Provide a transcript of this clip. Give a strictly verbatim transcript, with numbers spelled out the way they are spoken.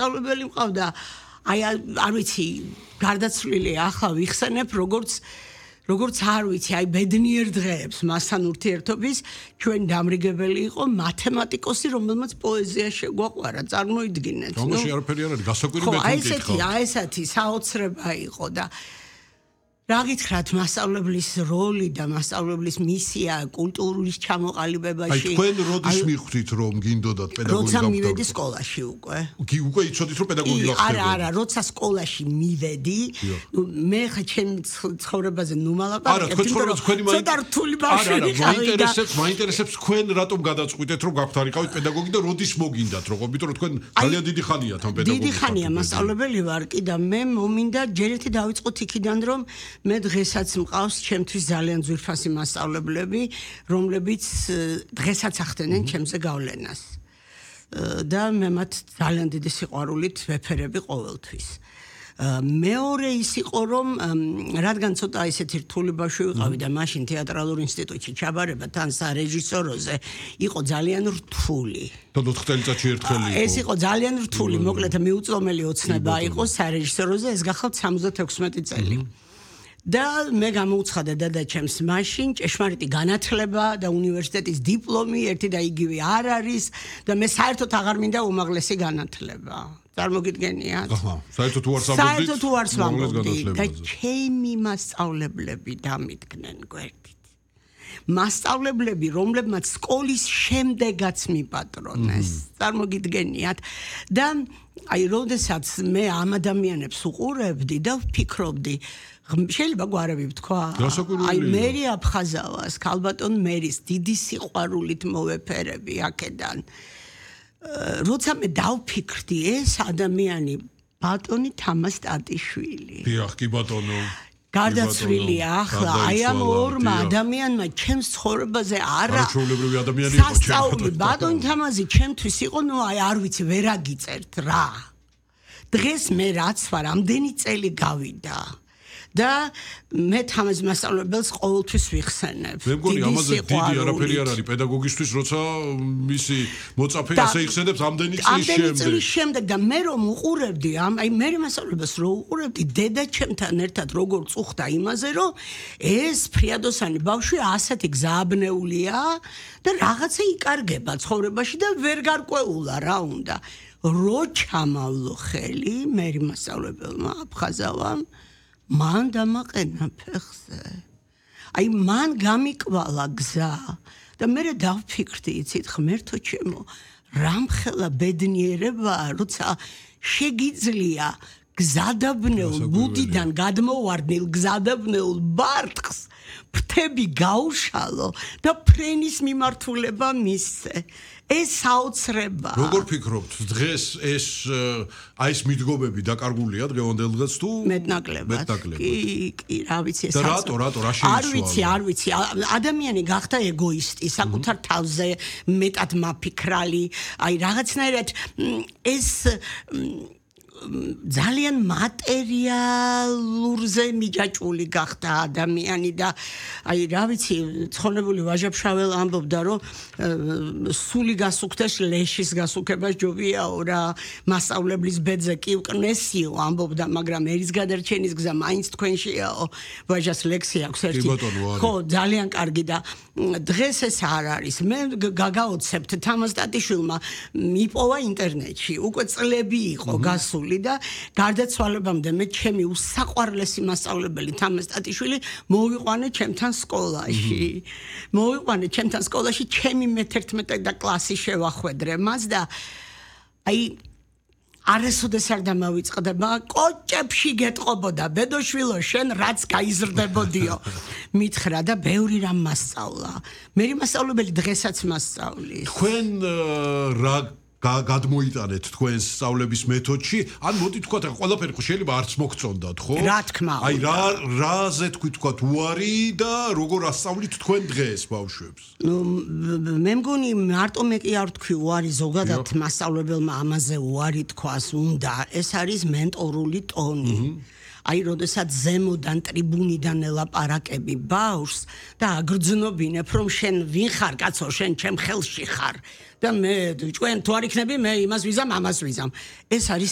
სწავლებელი მყავდა აი არ ვიცი გარდაცვლილი ახლა ვიხსენებ როგორც როგორც არ ვიცი აი ბედნიერ დღეებს მასთან ურთიერთობის ჩვენ დამრიგებელი იყო მათემატიკოსი რომელმაც პოეზია შეგვაყვარა წარმოიდგინეთ ნუ თამაში არაფერი არ არის გასაკვირი მეთოდიკა აი ესეთი აი ესეთი საოცრება იყო და რა გითხრათ მასწავლებლის როლი და მასწავლებლის მისია კულტურის ჩამოყალიბებაში აი თქვენ როდის მიხვდით რომ გინდოდათ პედაგოგი როცა მივედი სკოლაში უკვე კი უკვე იცოდით რომ პედაგოგი გახდებოდი არა არა როცა სკოლაში მივედი ნუ მე ხა ჩემ ცხოვრებაზე ნუ არა მალაპარაკებ თქვენ ცხოვრებას თქვენი მაინტერესებს ცოტა რთული ბავშვი მაინტერესებს მაინტერესებს თქვენ რატომ გადაწყვიტეთ რომ გაგვთარიყავით პედაგოგი და როდის მოგინდათ როგორ იმიტომ რომ თქვენ ძალიან დიდი ხანია თან პედაგოგი დიდი ხანია მასწავლებელი ვარ კი და მე მომინდა ჯერ ერთი დავიწყოთ იქიდან რომ მე დღესაც მყავს ჩემთვის ძალიან ძვირფასი მასწავლებლები, რომლებიც დღესაც ახდენენ ჩემზე გავლენას. და მე მათ ძალიან დიდი სიყვარულით ვეფერები ყოველთვის. მეორე ის იყო რომ რადგან ცოტა ისეთი რთული ბავშვი ვიყავი და მაშინ თეატრალურ ინსტიტუტში ჩაბარება თან სარეჟისოროზე იყო ძალიან რთული. და ოთხ წელიწადში ერთხელ იყო. ეს იყო ძალიან რთული, მოკლედ მიუწვდომელი ოცნება იყო სარეჟისოროზე, ეს გახალთ სამოცდათექვსმეტი წელი. და მე გამოუცხადა დადაჩემს მაშინ ჭეშმარიტი განათლება და უნივერსიტეტის დიპლომი ერთი და იგივე არ არის და მე საერთოდ აღარ მინდა უმაღლესი განათლება. წარმოგიდგენიათ? აჰა, საერთოდ თუ არ სამბობდით? საერთოდ თუ არ სამბობდით და ჩემი მასწავლებლები დამიდგნენ გვერდით. მასწავლებლები, რომლებმაც სკოლის შემდეგაც მიპატრონეს. წარმოგიდგენიათ? და აი, როდესაც მე ამ ადამიანებს უყურებდი და ვფიქრობდი შეიძლება გვარები ვთქვა? აი მერი აფხაზავას, ქალბატონ მერის დიდი სიყვარულით მოვეფერები აქედან. როცა მე დავფიქრდი ეს ადამიანი ბატონი თამაზ ტატიშვილი. დიახ, კი ბატონო. გარდაცვლილია ახლა აი ამ ორმა ადამიანმა ჩემს ცხოვრებაზე არა არაჩვეულებრივი ადამიანი იყო ჩემთვის. ბატონი თამაზი ჩემთვის იყო, ნუ აი არ ვიცი, ვერ აგიწერთ რა. დღეს მე რაც ვარ, ამდენი წელი გავიდა. და მე თამაზ მასწავლებელს ყოველთვის ვიხსენებ. მე მგონი ამაზე დიდი არაფერი არ არის პედაგოგისთვის, როცა მისი მოწაფე ასე იხსენებს ამდენი წლის შემდეგ. ამდენი წლის შემდეგ და მე რომ უყურებდი, აი მე მასწავლებელს რო უყურებდი, დედაჩემთან ერთად როგორ წუხდა იმაზე, რომ ეს ფრიადოსანი ბავშვი ასეთი გზააბნეულია და რაღაცა იკარგება ცხოვრებაში და ვერ გარკვეულა რა უნდა. რო ჩამავლო ხელი მე მასწავლებელმა აფხაზავამ მან დამაყენა ფეხზე. აი მან გამიკვალა გზა და მე დავფიქრდი, იცით, ღმერთო ჩემო, რამხელა ბედნიერებაა, როცა შეგიძლია გზადაბნეულ ბუდიდან გადმოვარდნილ გზადაბნეულ ბარტყს ფრთები გაუშალო და ფრენის მიმართულება მისცე. ეს საოცრება. როგორ ფიქრობთ, დღეს ეს აი ეს მიდგომები დაკარგულია დღევანდელ დღეს თუ მეტნაკლებად? კი, კი, რა ვიცი ეს. და რატო, რატო, რა შეიცვალა? არ ვიცი, არ ვიცი. ადამიანი გახდა ეგოისტი, საკუთარ თავზე მეტად მაფიქრალი. აი რაღაცნაირად ეს ძალიან მატერიალურზე მიჯაჭვული გახდა ადამიანი და აი რა ვიცი ცხონებული ვაჟაფშაվել ამბობდა რომ სული გასუქდეს ლეშის გასუქება ჯობიაო რა მასწავლებლის ბედზე კი უკნესიო ამბობდა მაგრამ ერის გადარჩენის გზა მაინც თქვენშიაო ვაჟას ლექსი აქვს ერთი ხო ძალიან კარგი და დღეს ეს არ არის მე გაგაოცებთ თამაზ ტატიშვილმა მიპოვა ინტერნეტში უკვე წლები იყო გასული და გარდაცვალებამდე მე ჩემი უსაყვარლესი მასწავლებელი თამაზ ტატიშვილი მოვიყვანე ჩემთან სკოლაში. მოვიყვანე ჩემთან სკოლაში ჩემი მეთერთმეტე და კლასი შევახვედრე მას და აი არასოდეს არ დამავიწყდება კოჭებში გეტყობოდა ბედოშვილო შენ რაც გაიზრდებოდიო მითხრა და ბევრი რამ მასწავლა. მე მასწავლებელი დღესაც მასწავლის. თქვენ რა გადმოიტანეთ თქვენს სწავლების მეთოდში, ან მოდი თქვათ, ყველაფერი ხო შეიძლება არც მოგწონდათ, ხო? რა თქმა უნდა. აი რა რაზე თქვით თქვათ უარი და როგორ ასწავლით თქვენ დღეს ბავშვებს? ნუ მე მგონი მარტო მე კი არ თქვი უარი ზოგადად მასწავლებელმა ამაზე უარი თქვას უნდა. ეს არის მენტორული ტონი. აი როდესაც ზემოდან ტრიბუნიდან ელაპარაკები ბავშვს და აგრძნობინებ რომ შენ ვინ ხარ კაცო შენ ჩემ ხელში ხარ და მე ჩვენ თუ არ იქნები მე იმას ვიზამ ამას ვიზამ ეს არის